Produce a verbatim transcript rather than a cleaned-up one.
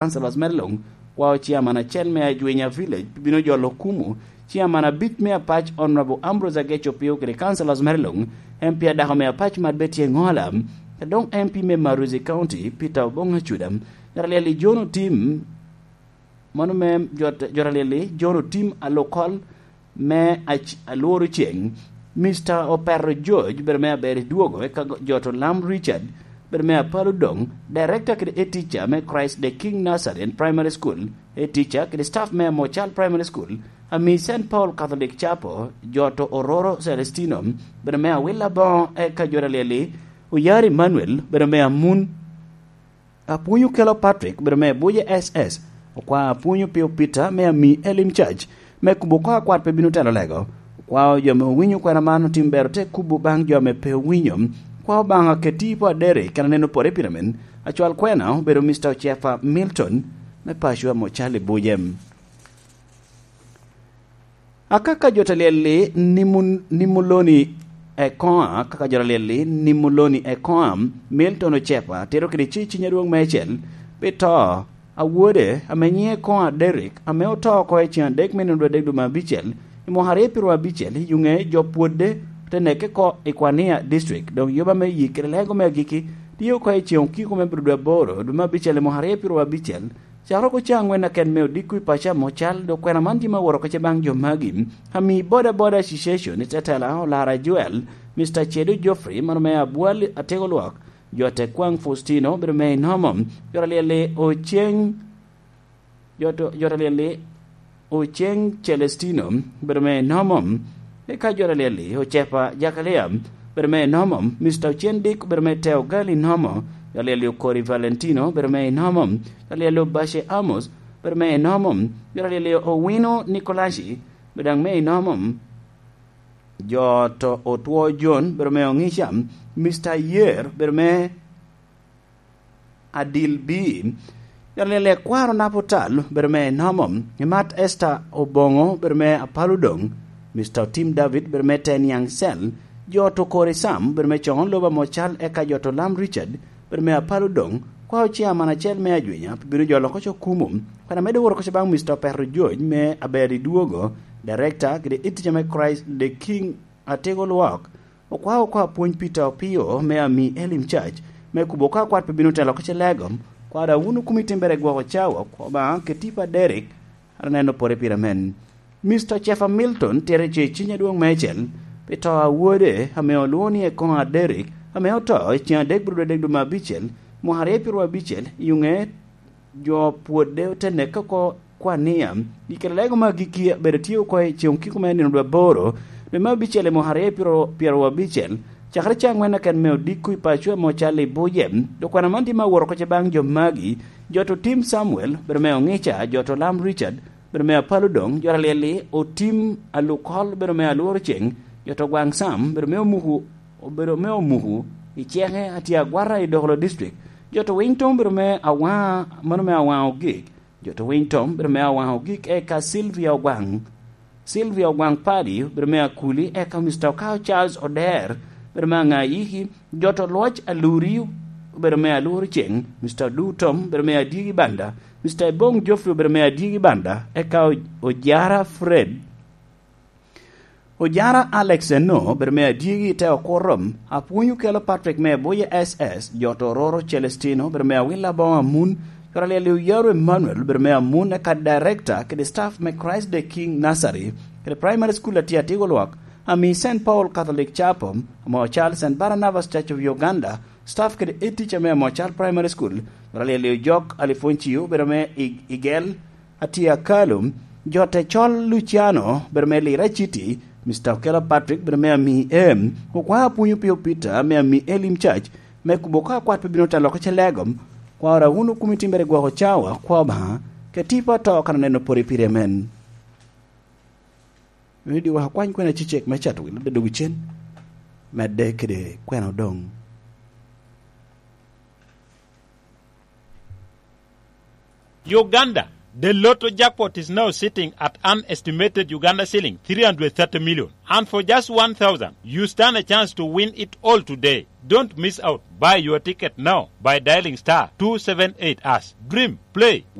councillors mere luŋ, kwao chairman acel me Ajwenya Village bino jolo Okumu, chairman abic me Apac Honorable Ambrose Ageco Pio kede councillors mere luŋ, M P adako me Apac Mat Betty Engola, kede doŋ M P me Maruzi County Peter Obong Acuda. Jot alyel-li John Otim, mano me jot, jot alyel-li John Otim Alokol me Ac-, Alworo Ceng, Mister Opero George, bedo me aber i dwogo, eka go-, jot Olam Richard, bedo me Apalo Dong, director kede e teacher me Christ the King Nursery and Primary School, e teacher kede staff me Amocal Primary School, ami Saint Paul Catholic Chapel, jot Ororo Celestino, bedo me Awila Boŋo, eka jot alyel-li Oyar Emmanuel, bedo me Amun, Apwony Okelo Patrick, bedo me Abuja S S, okwa Apwony Opio Peter me ami Elim Church, me kubo oko akwat pe bino telo lego. Okwao jo ame owinyo kwena man otim ber ote kubo baŋ jo ame pe owinyo. Okwao Obaŋa keti po aderi kena neno pore pire men. Acwal kwena obedo Mister Ocefa Milton, me paco ame Ocali Buje. Akaka jot alyel-li Nimu-, Nimuloni Ekoŋa, akaka jot alyel-li Nimuloni Ekoŋa, Milton Ocepa, tito kede ci ciny adwoŋ meicel, pi to a wode, ame nyiŋe Ekoŋa Derrick, ame oto oko i ceŋ adek me nino adek dwe me abicel, i mwaka aryo piro abicel, i yuŋe jo pwodde, te neke oko i Kwania District, doŋ yoba me yik kede lego me agikki, tye oko i ceŋ okiko me biro dwe aboro, dwe me abicel i mwaka aryo piro abicel, Cakere oko caŋ wen aken me odiko i paco ame Ocal, dok kwena man tye me woro kece baŋ jo magi. Ami Boda Boda Association i tetela Olara Joel, Mister Cedo Geoffrey, mano me Abwal Atego Lwak, jo Tekwaŋ Faustino, bedo me Inomo, jot alyel-li Oceng, jot, jot alyel-li Oceng Celestino, bedo me Inomo, eka jot alyel-li Ocepa Jakalia, bedo me Inomo, Mister Ocen Dik, bedo me Teo Gali Inomo, jot alyel-li Okori Valentino, bedo me Inomo, jot alyel-li Obashe Amos, bedo me Inomo, jot alyel-li Owino Nikolaci, bedo daŋ me Inomo, jot Otwo John, bedo me Oŋica, Mister Yer, bedo me Adil B. Jot alyel-li Akwaro Naputal, bedo me Inomo, Imat Esther Oboŋo, bedo me Apalo Doŋ, Mister Otim David, bedo me Teniaŋ Cell, jot Okori Sam, bedo me Coŋo Lobo ame Ocal, eka jot Olam Richard, bedo me Apalo Doŋ, kwao chairman acel me Ajwenya, bino jolo oko Cokumu, kwena medo woro oko baŋ Mister Opero George me Aber i Dwogo, director kede editor me Christ the King Atego Lwak, Okwao oko Apwony Peter Opio me ami Elim Church, me kubo ka kwat pe bino telo oko ce lego, kwada wunu kumi timbere gwoko cawa, koma ke tipo a Derek, ara neno pore pire men. Mister Chefa Milton tere ce ciny adwoŋ meicel, pi to a wode, ame olwoŋo ni Ekoŋo a Derek, ame oto i ceŋ adek bro dwe dek dwe me abicel, mwaka aryo piro abicel, i ŋe jo pwodde ote neke oko kwan ni, i kare lego me agikki abedo tye oko i ceŋ okiko me nino dwe aboro, dwe me abicel i mwaka aryo pyero abicel, cakere caŋ wen aken me odiko i paco ame ocal i Buje. Dok kwan aman tye me awot oko ce baŋ jo magi, jot Otim Samuel, bedo me Oŋica, jot Olam Richard, bedo me Apalo Doŋ, jot alyel-li Otim Alukol, bedo me Alworo Ceŋ, jot Ogwaŋ Sam, bedo me Omuku, obedo me Omuku, i ceke atye agwata i Dokolo District, jot Winy Tom, bedo me Awaŋa, mano me Awaŋa Ogik, jot Winy Tom, bedo me Awaŋa Ogik, eka Sylvia Ogwaŋ, Sylvia Ogwaŋ Padi, bedo me Akuli, eka Mister Okao Charles Oder, bedo me Aŋayiki, jot Olwoc Aluri, bedo me Aluri Ceŋ, Mister Odu Tom, bedo me Adyegi Banda, Mister Ibong Geoffrey, bedo me Adyegi Banda, eka O-, Ojara Fred, Ojara Alex Eno, bedo me Adyegi i te Okurom, Apwony Okelo Patrick me Buye S S, jot Ororo Celestino, bedo me Awila Boŋo Amun, jot alyel-li Oyaro Emmanuel, bedo me Amun, eka director kede staff me Christ the King Nursery, kede Primary School atye Atigo Lwak, ami Saint Paul Catholic Chapel, ame ocal Saint Barnabas Church of Uganda, staff kede head teacher me ame ocal Primary School, jot alyel-li Ojok Alifoncio, bedo me Ig-, Igel, Atye Akalo, jot Ecol Luciano, bedo me Lira City, Mister Okelo Patrick, bedo me ami em, Okwao Apwony Opio Peter, me ami Elim Church, me kubo ka kwat pe bino telo oko ce lego, kwara wunu kumi timbere gwoko cawa, kwa Obaŋa, ke tipo ato kan oneno pore pire men. Meno diwa akwany kwena cecek me cato wi ludde dog cen, medde kede kwena odoŋ. Uganda, The Lotto jackpot is now sitting at an estimated Uganda shilling three hundred thirty million. And for just one thousand, you stand a chance to win it all today. Don't miss out. Buy your ticket now by dialing star two seven eight hash. Dream, play,